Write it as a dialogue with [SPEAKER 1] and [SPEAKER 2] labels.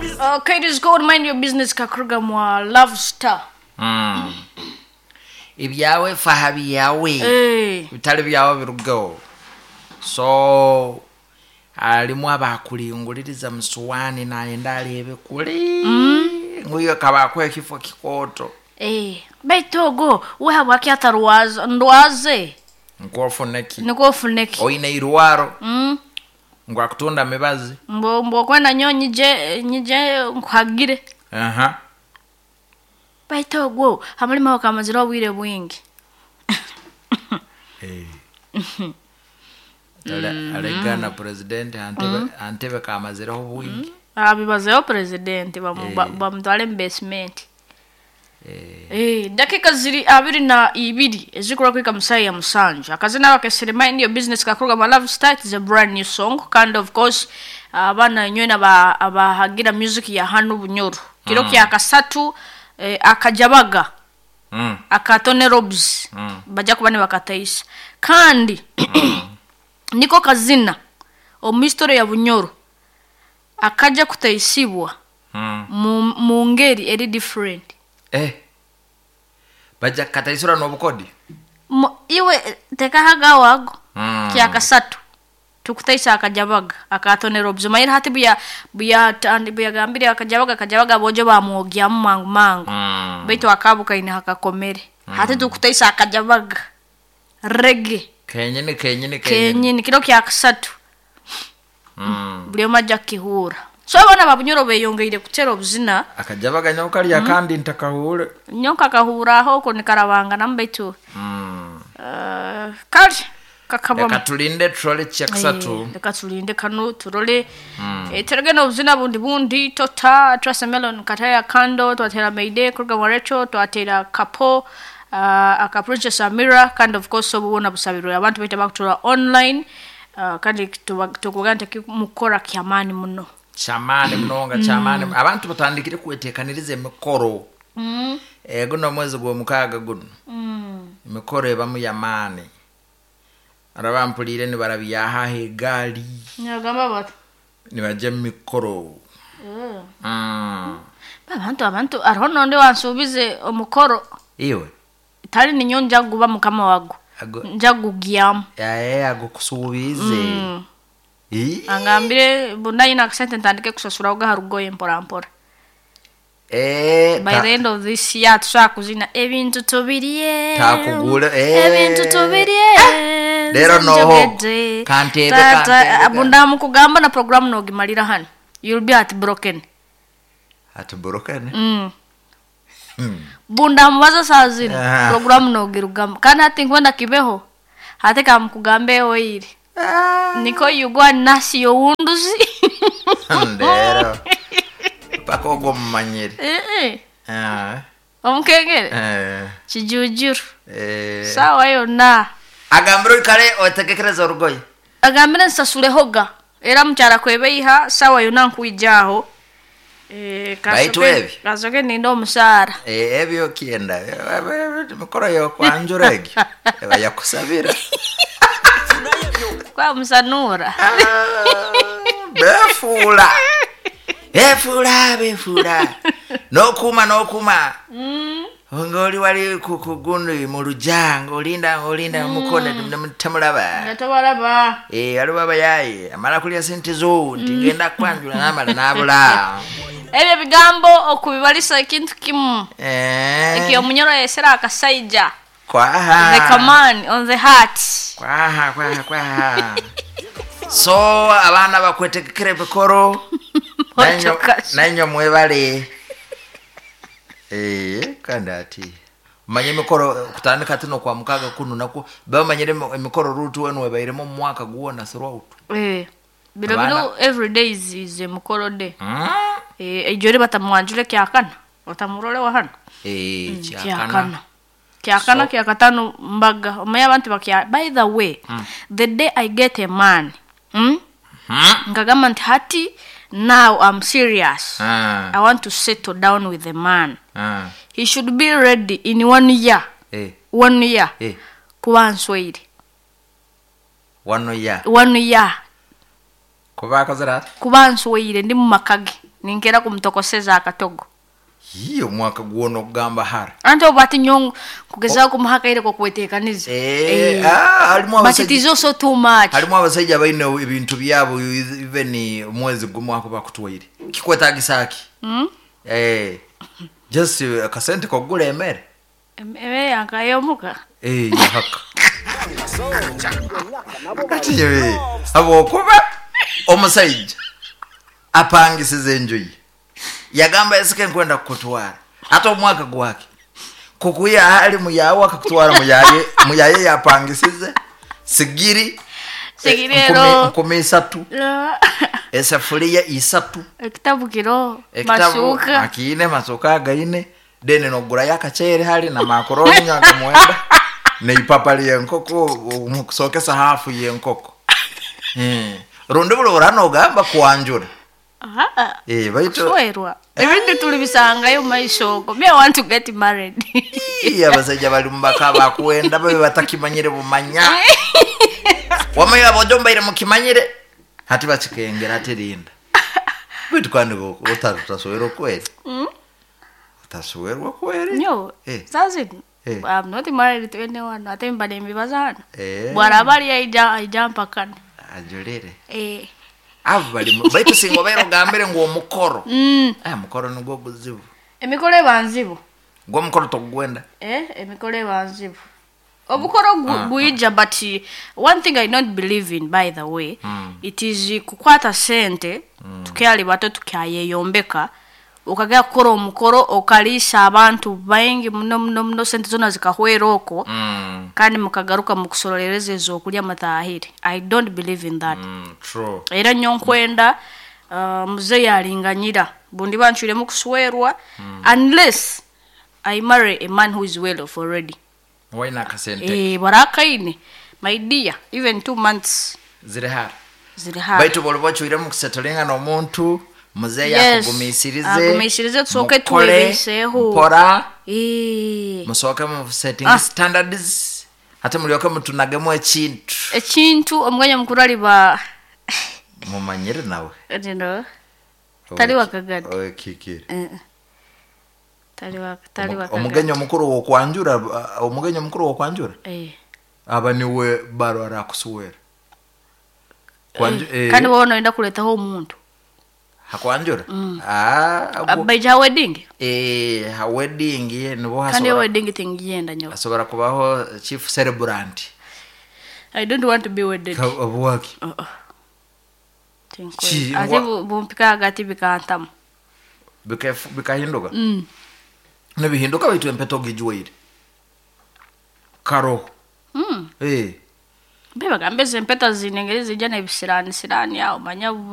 [SPEAKER 1] Okay, it is called Mind Your Business kakuruga mwa Love Star.
[SPEAKER 2] Ibyawe faha byawe.
[SPEAKER 1] Eh.
[SPEAKER 2] Bitali byawe birugeho. So alimu abakulinguliriza musuwani nayenda alebe kuli nguyo kabakwa ekifo kikoto.
[SPEAKER 1] Eh, baitu ogo we habwaki atarwaza ndwaze
[SPEAKER 2] Nkuofuneki
[SPEAKER 1] niko ofuneki.
[SPEAKER 2] Oine irwaro. Ngu akutunda mibazi.
[SPEAKER 1] Mbo mbo kwenda nyo nyije nyije nkuhagire.
[SPEAKER 2] Aha.
[SPEAKER 1] Baitu ogwo hamulima wakamazira obwire bwingi.
[SPEAKER 2] Eh. Alegana president antebe antebe kamazireho bwingi.
[SPEAKER 1] Abibazeho president bamutwale mu basement. Eh, dakika ziri 22 ezikora kwika musaya ya musanju. Akazina bakesere Mind Your Business kakuruga ma Love Star is a brand new song. Kandi of course abana nywena abahagira music ya hanu Bunyoro. Kiro kya kasatu akajabaga. Akatone Robs. Bajja kuba ne bakataisa. Kandi niko kazina omu history ya Bunyoro akaja kutaisibwa mu ngeri eri different.
[SPEAKER 2] Bajja kataisura n'obukodi.
[SPEAKER 1] Iwe tekahaga wago. Kya kasatu tukutaisa akajabaga akatone Robs. Mayira hati buya buya tandi buya gambire akajabaga akajabaga bojo bamwogya mu mangu mangu. Baitu akabuka ine hakakomere. Hati tukutaisa akajabaga reggae.
[SPEAKER 2] Kenyini kenyini kenyini.
[SPEAKER 1] Kenyini kiro kya kasatu. Buli omu ajja kukihura. So abaana ba Bunyoro beyongeire kutera obuzina.
[SPEAKER 2] Akajabaga nyo kalya kandi ntakahure.
[SPEAKER 1] Nyo kakahura aho ko nikarabanga nambaitu. Kali kakabamo.
[SPEAKER 2] Reka tulinde turole kya kasatu.
[SPEAKER 1] Reka tulinde kano turole. Terege n'obuzina bundi bundi tota Trace Melon kataya kando twatera Mayday kuruga Warecho twatera Kapo aka Princess Amira kind of course obubona busabirwe abantu bita bakutura online kandi tukugante mukora kyamani muno.
[SPEAKER 2] Chamani mnonga chamani abantu batandikire kwetekaniriza emikoro. Guno mwezi gwo mukaga guno. Emikoro ebamu yamani. Arabampulire ni barabyaha egali.
[SPEAKER 1] Nyagamba bat.
[SPEAKER 2] Nibaje mikoro.
[SPEAKER 1] Abantu abantu ariho nonde wansubize omukoro.
[SPEAKER 2] Iwe.
[SPEAKER 1] Tali ninyo njaguba mukama wago. Njagugyamu.
[SPEAKER 2] Yae agukusubize.
[SPEAKER 1] Angambire bundayi na kasente ntandike kusasura uga harugoye mpora mpora. By the end of this year tushaka kuzina ebintu tubiriye.
[SPEAKER 2] Takugula
[SPEAKER 1] ebintu tubiriye.
[SPEAKER 2] Lero noho. Kantebe kantebe.
[SPEAKER 1] Bunda mukugamba na program nogimalira hano. You'll be heartbroken.
[SPEAKER 2] Heartbroken?
[SPEAKER 1] Bunda mubaza saa zino program nogirugamba. Kandi hati nkwenda kibeho. Hati kamukugambe oiri. Niko yugwa nasi yowunduzi.
[SPEAKER 2] Ndero. Paka ogwo mumanyire.
[SPEAKER 1] Omukengere. Kijujuru. Sawa yonna.
[SPEAKER 2] Agambire kale otegekereza orugoye.
[SPEAKER 1] Agambire nsasulehoga. Era mukyala kwebeiha sawa yonna nkuijaho.
[SPEAKER 2] Baitu ebi.
[SPEAKER 1] Kasoke ninda omusaara.
[SPEAKER 2] Ebyo kienda. Mikoro yo kwanjura egyo. Eba yakusabira.
[SPEAKER 1] Kwa musanura.
[SPEAKER 2] Befuula. Befuula, befuula. Nokuma, nokuma. Ngoli wali kukugundu mu lujja ng'olinda ng'olinda mukone temulaba.
[SPEAKER 1] Nga tobalaba.
[SPEAKER 2] Waliwo abayaye amala kulya sente zo nti ngenda kwanjula n'amala n'abula.
[SPEAKER 1] Ebyo bigambo okubibalisa ekintu kimu. Ekyo omunyoro yesera akasaija.
[SPEAKER 2] Kwaha.
[SPEAKER 1] The command on the heart.
[SPEAKER 2] Kwaha, kwaha, kwaha. So abaana bakwetegekera ebikoro. Nanyo mwebale. Kandi ati manye emikoro kutandika tino kwa mukaga kuno nako bamanyire emikoro rutu wenu webairemo mu mwaka guwona throughout.
[SPEAKER 1] Biro biro every day is a mukoro day. Ejore batamwanjule kyakana. Batamurole wa hano.
[SPEAKER 2] Kyakana.
[SPEAKER 1] Kyakana kyakatano mbaga. Omanye abantu bakya. By the way, the day I get a man, nkagamba nti hati now I'm serious. I want to settle down with the man. He should be ready in 1 year. 1 year. Kuba nsweire.
[SPEAKER 2] 1 year.
[SPEAKER 1] 1 year.
[SPEAKER 2] Kuba akozera ati?
[SPEAKER 1] Kuba nsweire ndi mu makage. Ninkera kumutokoseza akatogo.
[SPEAKER 2] Yii, omwaka gwona okugamba hara.
[SPEAKER 1] Anti obu ati nyowe nkugezaho kumuha akaire k'okweteekaniza.
[SPEAKER 2] Ah, harimu
[SPEAKER 1] But it
[SPEAKER 2] abasaija
[SPEAKER 1] is also too much.
[SPEAKER 2] Harimu abasaija baine ebintu byabo, even omwezi gumu akuba akutwaire kikwetagisa ki? Just akasente k'okugura emere.
[SPEAKER 1] Emere yankayomuka.
[SPEAKER 2] Yahaka kati habwokuba omusaija apangisiza enju ye, yagamba esike nkwenda kukutwara, ate omwaka gwake kukuya hali muyawe akakutwara muyaye, muyaye yapangisize sigiri.
[SPEAKER 1] Sigiri ero.
[SPEAKER 2] 3,000, esafuriya 3.
[SPEAKER 1] Ekitabu kiro.
[SPEAKER 2] Ekitabu.
[SPEAKER 1] Masuka.
[SPEAKER 2] Akiine masuka againe, then nogurayo akachere hali na makoroni nga mwenda neipapa lyenkoko mukusokesa hafu yenkoko. Rundi buli nogamba kwanjura.
[SPEAKER 1] Aha.
[SPEAKER 2] Baitu
[SPEAKER 1] Kuswerwa ebindi tulibisangayo mumaisho ogo. Me, I want to get married.
[SPEAKER 2] Ii, abasaija bali mubaka bakwenda babe batakimanyire bumanya wamanya abojo mbaire mukimanyire hati bakikengera ati rinda, baitu kandi utaswerwa kweri, utaswerwa kweri.
[SPEAKER 1] Nyo sazino I'm not married to anyone, ate mba nembibaza hano. Bwaraba ari aija mpakana.
[SPEAKER 2] Ajulire.
[SPEAKER 1] Eh.
[SPEAKER 2] Abo bali baitu singa obaire ogambire ngu omukoro. Mukoro nigwo guzibu.
[SPEAKER 1] Emikoro eba nzibu.
[SPEAKER 2] Gwo omukoro togwenda.
[SPEAKER 1] Emikoro eba nzibu, obukoro gwija, but one thing I don't believe in, by the way, it is kukwata sente tukyali bato tukyayeyombeka, ukagera kukora omukoro okaliisa abantu baingi muno muno muno, sente zona zikahwera okwo, kandi mukagaruka mukusorolereza ezokulya mutahire. I don't believe in that.
[SPEAKER 2] True.
[SPEAKER 1] Era nyo nkwenda muzeeyi alinganyira bundi bancwiremu kuswerwa unless I marry a man who is well off already.
[SPEAKER 2] Waina akasente.
[SPEAKER 1] Barakaine, my dear, even 2 months
[SPEAKER 2] ziri hara.
[SPEAKER 1] Ziri hara.
[SPEAKER 2] Baitu boli bocwiremu kusettlinga n'omuntu muzeeyi
[SPEAKER 1] Yes.
[SPEAKER 2] akugumisirize.
[SPEAKER 1] Agumisirize, tusooke
[SPEAKER 2] mukole
[SPEAKER 1] twebeeseho.
[SPEAKER 2] mpora.
[SPEAKER 1] Eh.
[SPEAKER 2] Musooke mu setting standards, ate mulyoke mutunagemu ekintu.
[SPEAKER 1] Ekintu omuganya mukuru aliba
[SPEAKER 2] Mumanyire nawe.
[SPEAKER 1] You tali wakagadi.
[SPEAKER 2] Okikire.
[SPEAKER 1] Tali wakagadi.
[SPEAKER 2] Omugenyi omukuru wokwanjura, omugenyi omukuru wokwanjura aba niwe baro arakusuwera.
[SPEAKER 1] Kandi wowe noyenda kuletaho omuntu.
[SPEAKER 2] Hakwanjura. Ah,
[SPEAKER 1] baija ha wedding.
[SPEAKER 2] Ha wedding nibo
[SPEAKER 1] Kandi
[SPEAKER 2] hasobora
[SPEAKER 1] wedding tingiyenda nyo.
[SPEAKER 2] Asobora kubaho chief celebrant.
[SPEAKER 1] I don't want to be wedded.
[SPEAKER 2] Obwaki?
[SPEAKER 1] Uh-uh.
[SPEAKER 2] Ki-
[SPEAKER 1] Ate bumpika hagati bikantamu.
[SPEAKER 2] Bikahinduka, nibihinduka, baitu empeta ogijwaire karoho.
[SPEAKER 1] Mbe bagambe ezi empeta zine engeri zijja nebisirani sirani awo manya.